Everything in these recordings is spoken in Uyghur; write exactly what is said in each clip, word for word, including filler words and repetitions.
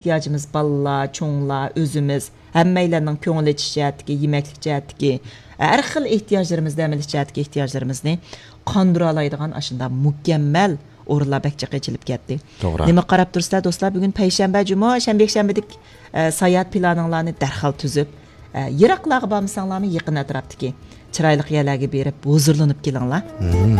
ئېھتىياجىمىز، بالىلار، چوڭلار، ئۆزىمىز، ھەممەيلەننىڭ كۆڭۈل ئېچىش جەھەتتىكى، يېمەكلىك جەھەتتىكى، ھەر خىل ئېھتىياجلىرىمىزنى، ئەمەلىي جەھەتتىكى ئېھتىياجلىرىمىزنى قاندۇرالايدىغان ئاشۇنداق مۇكەممەل ئورۇنلار بەك جىق ئېچىلىپ كەتتى. توغرا. نېمە قاراپ تۇرسىلەر دوستلار، بۈگۈن پەيشەنبە، جۇمۇ، شەنبە، يەكشەنبىدىكى، ئە، ساياھەت پىلانىڭلارنى دەرھال تۈزۈپ، ئە، يىراقلارغا بارمىساڭلارمۇ يېقىن ئەتراپتىكى چىرايلىق يەرلەرگە بېرىپ ھۇزۇرلىنىپ كېلىڭلار. مم.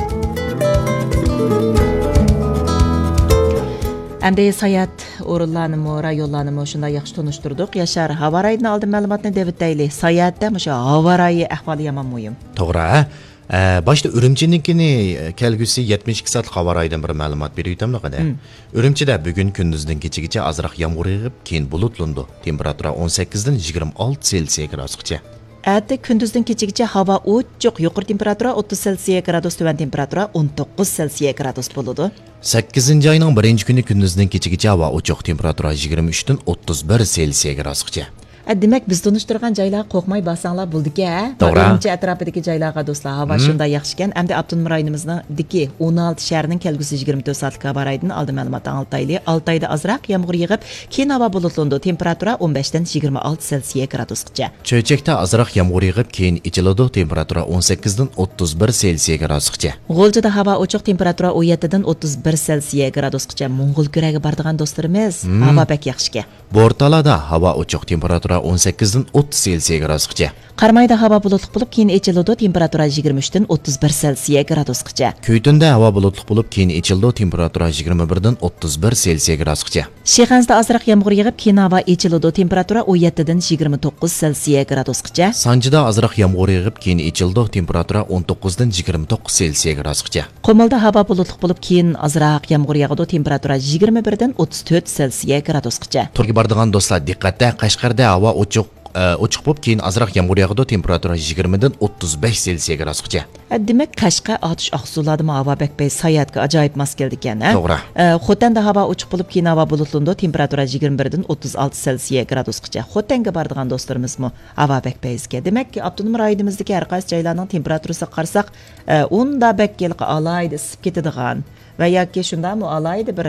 ئەمدى ساياھەت ئورۇنلارنىمۇ، رايونلارنىمۇ شۇنداق ياخشى تونۇشتۇردۇق. ياشار، ھاۋا رايىدىن ئالدىن مەلۇماتنى دەۋېتەيلى. ساياھەتتە مۇشۇ ھاۋا رايى ئەھۋالى يامان مۇھىم. توغرا. ئە، باشتا ئۈرۈمچىنىڭكىنى كەلگۈسى يەتمىش ئىككى سائەتلىك ھاۋا رايىدىن بىر مەلۇمات بېرىۋېتەمدۇ قېنى. مم. ئۈرۈمچىدە بۈگۈن كۈندۈزدىن كېچىگىچە ئازراق يامغۇر يېغىپ، كېيىن بۇلۇتلىنىدۇ. تېمپېراتۇرا ئون سەككىزدىن يىگىرمە ئالتە سېلسىيە گرادۇسقىچە. ئەتە كۈندۈزدىن كېچىگىچە ھاۋا ئوچۇق، يۇقىرى تېمپېراتۇرا ئوتتۇز سېلسىيە گرادۇس، تۆۋەن تېمپېراتۇرا ئون توققۇز سېلسىيە گرادۇس بولىدۇ. سەككىزىنچى ئاينىڭ بىرىنچى كۈنى كۈندۈزدىن كېچىگىچە ھاۋا ئوچۇق، تېمپېراتۇرا يىگىرمە ئۈچتىن ئوتتۇز بىر سېلسىيە گرادۇسقىچە. ئە، دېمەك، بىز تونۇشتۇرغان جايلارغا قورقماي بارساڭلار بولىدىكەن. توغرا. ئۈرۈمچى ئەتراپىدىكى جايلارغا دوستلار، ھاۋا مم. شۇنداق ياخشىكەن. ئەمدى ئاپتونوم رايونىمىزنىڭدىكى ئون ئالتە شەھەرنىڭ كەلگۈسى يىگىرمە تۆت سائەتلىك ھاۋا رايىدىن ئالدىن مەلۇمات ئاڭلىتايلى. ئالتايدا ئازراق يامغۇر يېغىپ، كېيىن ھاۋا بۇلۇتلىنىدۇ. تېمپېراتۇرا ئون بەشتىن يىگىرمە ئالتە سېلسىيە گرادۇسقىچە. چۆچەكتە ئازراق يامغۇر يېغىپ، كېيىن ئېچىلىدۇ. تېمپېراتۇرا ئون سەككىزدىن ئوتتۇز بىر سېلسىيە گرادۇسقىچە. غۇلجىدا ھاۋا ئوچۇق، تېمپېراتۇرا ئون يەتتىدىن ئوتتۇز بىر سېلسىيە گرادۇسقىچە. موڭغۇل كۈرەگە بارىدىغان دوستلىرىمىز، مم. ھاۋا بەك ياخشىكەن. بورتالادا ھاۋا ئوچۇق، تېمپېراتۇرا ئون سەككىزدىن ئوتتۇز سېلسىيە گرادۇسقىچە. قارامايدا ھاۋا بۇلۇتلۇق بولۇپ، كېيىن ئېچىلىدۇ، تېمپېراتۇرا يىگىرمە ئۈچتىن ئوتتۇز بىر سېلسىيە گرادۇسقىچە. كۈيتۈندە ھاۋا بۇلۇتلۇق بولۇپ، كېيىن ئېچىلىدۇ، تېمپېراتۇرا يىگىرمە بىردىن ئوتتۇز بىر سېلسىيە گرادۇسقىچە. شىخەنزىدە ئازراق يامغۇر يېغىپ، كېيىن ھاۋا ئېچىلىدۇ، تېمپېراتۇرا ئون يەتتىدىن يىگىرمە توققۇز سېلسىيە گرادۇسقىچە. سانجىدا ئازراق يامغۇر يېغىپ، كېيىن ئېچىلىدۇ، تېمپېراتۇرا ئون توققۇزدىن يىگىرمە توققۇز سېلسىيە گرادۇسقىچە. قۇمۇلدا ھاۋا بۇلۇتلۇق بولۇپ، كېيىن ئازراق يامغۇر ياغىدۇ، تېمپېراتۇرا يىگىرمە بىردىن ئوتتۇز تۆت سېلسىيە گرادۇسقىچە. تورغا بارىدىغان دوستلار دىققەتتە، قەشقەردە ھاۋا ئوچۇق، ئە، ئوچۇق بولۇپ، كېيىن ئازراق يامغۇر ياغىدۇ، تېمپېراتۇرا يىگىرمىدىن ئوتتۇز بەش سېلسىيە گرادۇسقىچە. ئە، دېمەك، قەشقەر، ئاتۇش، ئاقسۇلاردىمۇ ھاۋا بەك پەيز، ساياھەتكە ئاجايىپ ماس كېلىدىكەن، ھە؟ توغرا. ئە، خوتەندە ھاۋا ئوچۇق بولۇپ، كېيىن ھاۋا بۇلۇتلىنىدۇ، تېمپېراتۇرا يىگىرمە بىردىن ئوتتۇز ئالتە سېلسىيە گرادۇسقىچە. خوتەنگە بارىدىغان دوستلىرىمىزمۇ ھاۋا بەك پەيزكەن. دېمەك، ئاپتونوم رايونىمىزدىكى ھەر قايسى جايلارنىڭ تېمپېراتۇرىسىغا قارىساق، ئە، ئۇندا بەك ھېلىقى ئالاھىدە ئىسسىپ كېتىدىغان ۋە ياكى شۇنداقمۇ ئالاھىدە بىر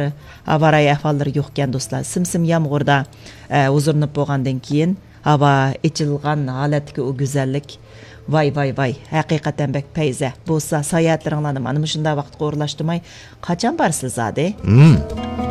ھاۋا رايى ئەھۋاللىرى يوقكەن، دوستلار. سىم-سىم يامغۇردا، ئە، ھۇزۇرلىنىپ بولغاندىن كېيىن، ھاۋا ئېچىلغان ھالەتتىكى ئۇ گۈزەللىك. ۋاي، ۋاي، ۋاي، ھەقىقەتەن بەك پەيزە. بولسا ساياھەتلىرىڭلارنى مانا مۇشۇنداق ۋاقىتقا ئورۇنلاشتۇرماي، قاچان بارىسىلەر زادى؟ مم.